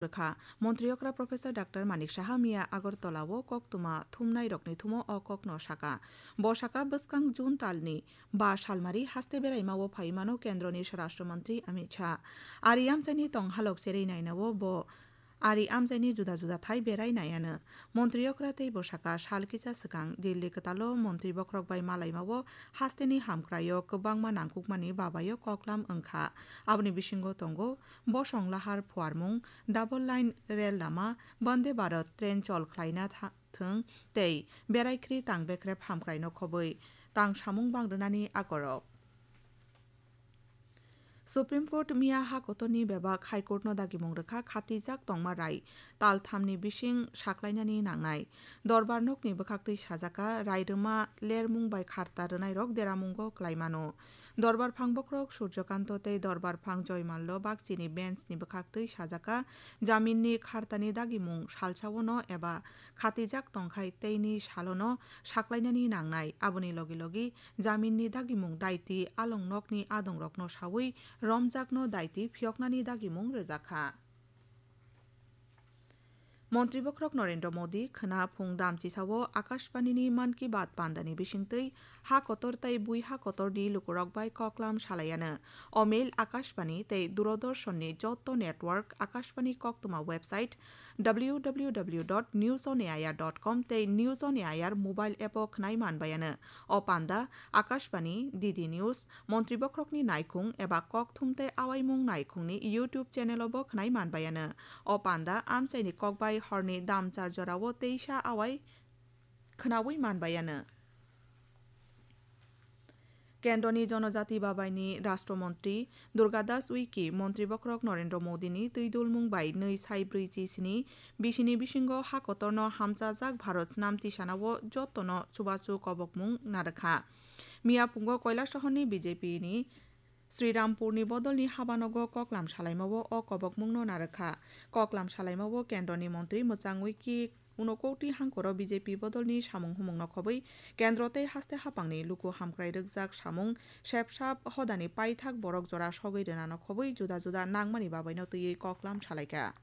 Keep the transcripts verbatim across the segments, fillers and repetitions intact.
rwkha. Montri okra Professor Doctor Manik Saha miya Agartala o koktwma thumnai rokni thumo o kokno saka. Bo saka bwskang June talni ba salmari haste beraima o phaimano kendroni Swarashtra Mantri Amit Shah. Ari amchaini tong halok cherwi naina o bo ari amchaini juda juda thai berai naiano. Montri okra tei bo saka sal kisa swkang Delhi kwtalo montri bokhorok bai malaima o hasteni hamkrai o kwbangma nangkukmani babai o koklam wngkha. Aboni bisingo tongo bosong lahar phuarmung, double line rel lama, Vande Bharat train chol khlaina tha-, thwng tei berai khri tang bekrep hamkrai no khobwi tang samung bang rwnani akorok. Supreme Court miya ha kotorni bebak High Court no dagimung rwkha khatijak tongma rai tal thamni bising saklainani nangnai. Dorbar nokni bwkhaktwi sajaka rai rwma lermung bai kharta rwnairok deramungo klaimano. Dorbar phang bokhorok Surjokanto tei Dorbar phang Joymallo bakchini bench ni bwkhaktwi sajaka jaminni khartani dagimung salsaono eba khatijak tongkhai teini salono saklainani nangnai. Aboni logi logi jaminni dagimung daiti along nokni adongrokno saui romjakno daiti phiyoknani dagimung rwjakha. Montri bokhorok Narendra Modi khwna phung damchisao Akashbanini Mann Ki Baat pandani bisingtwi ha kotor tei bui ha kotorni lukurok bai koklam salaiano. O mail Akashbani tei Doordarshanni joto network Akashbani koktwma website w w w dot news on air dot com tei News on Air mobile app o khwnai manbaiano. O panda Akashbani, D D News, Montri bokhorokni naikhung eba kokthum tei awaimung naikhungni YouTube channel o bo khwnai manbaiano. O panda amchaini kokbai horni damchar jorao teisa awai khwnaui manbaiano. Kendroni Jonojati Babaini Rashtra Montri Durga Das Uiki Montri Bokhorok Narendra Modini twi dulmung bai nwi sai brwi chi sini bisini bisingo ha kotorno hamchajak Bharat Snam Tisanao jotono chubachu kobokmung narwkha. Miya phungo Koilasohorni B J P ni Srirampurni bodolni habanogo koklam salaimao o kobokmungno narwkha. Koklam salaimao kendroni montri mwchangwi ki unokoti hangkoro B J P bodolni samung humungno khobwi kendro tei haste hapangni luku hamkrai rwkjak samung sepsap hodani paithak borok jora sogwi rwnano khobwi juda juda nangmani babaino twiwi koklam salaikha.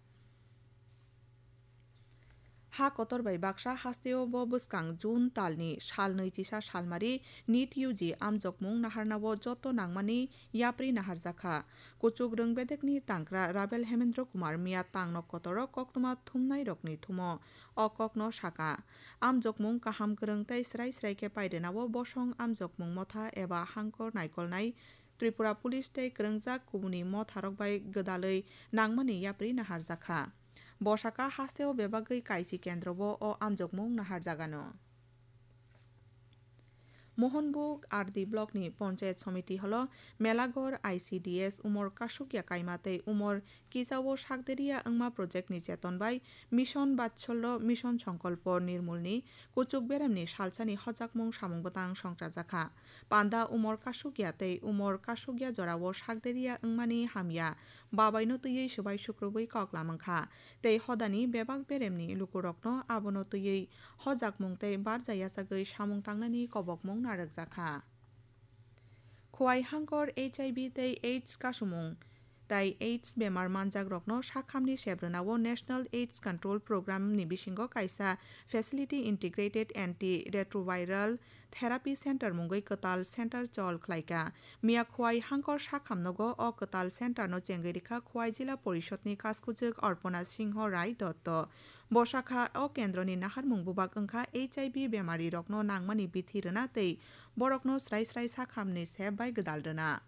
Ha kotor bai baksa hasteo bo bwskang June talni sal nwi chisa salmari NEET U G amjokmung naharnao joto nangmani yapri naharjakha. Kuchuk rwng bedekni tangkra Rabel Hemendra Kumar miya tangno kotoro koktwma thumnairokni thumo o kokno saka. Amjokmung kaham kwrwng tei srai srai khe pairwnao bosong amjokmung motha eba hangkor naikolnai Tripura Police tei kwrwngjak kubuni motharok bai gwdalwi nangmani yapri naharjakha. Bo saka hasteo bebagwi kaisi kendrobo o amjokmung naharjagano. Mohanbug R D blockni Panchayat Somiti holo Melagor I C D S umor kasukya kaima tei umor kisao sakderia wngma projectni cheton bai Mission Vatsalya, Mission Sankalpa Nirmalni kuchuk beremni salsani hojakmung samung bwtang songchajakha. Panda umor kasukya tei umor kasukya jorao sakderia wngmani hamya babaino twiwi swbai sukrubwi koklam wngkha tei hodani bebak beremni lukurokno abono twiwi hojakmung tei barja yachagwi samung tangnani kobokmung narwkjakha. Khowai hangkor H I V tei AIDS kasumung tai AIDS bemar manjakrokno sakhamni sebrwnao National AIDS Control Program ni bisingo kaisa Facility Integrated Antiretroviral Therapy Center mungwi kwtal center chol khlaikha. Miya Khowai hangkor sakhamnogo o kwtal center no chengwi rikha Khowai Jila Porishod ni kaskujwk Arpana Singho Rai Dotto. Bo sakha o kendroni naharmung bubak wngkha H I V bemarirokno nangmani bithi rwna tei borokno srai srai sakhamni sep bai gwdal rwna.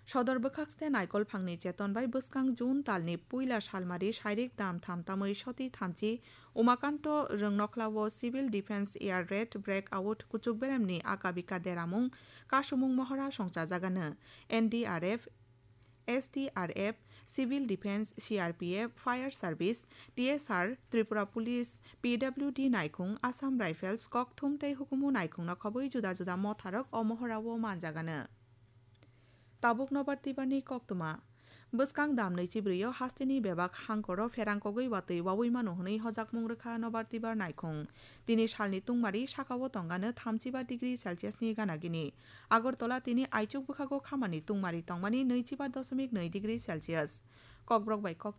Sodor bwkhakste naikolphangni cheton bai bwskang June talni puila salmari sairik dam tham tamwi soti thamchi Umakanto Rwngnokhlao Civil Defence Air Raid Breakout kuchuk beremni akabika deramung kasumung mohora songchajagano. N D R F, S D R F, Civil Defence, C R P F, Fire Service, T S R, Tripura Police, P W D naikhung, Assam Rifles, kokthum tei hukumu naikhungno khobwi juda juda motharok o mohorao manjagano. Tabuk nobar tibarni koktwma. Bwskang dam nwichi brwi o hasteni bebak hangkoro pherang kogwi watwi waui mano hwnwi hojakmung rwkha nobar tibar naikhung. Tini salni tungmari sakao tongano thamchiba degree Celsius ni gana gini. Agartala tini aichuk bwkhago khamani tungmari tongmani nwichiba doshomik nwi degree Celsius. Kokborok bai kok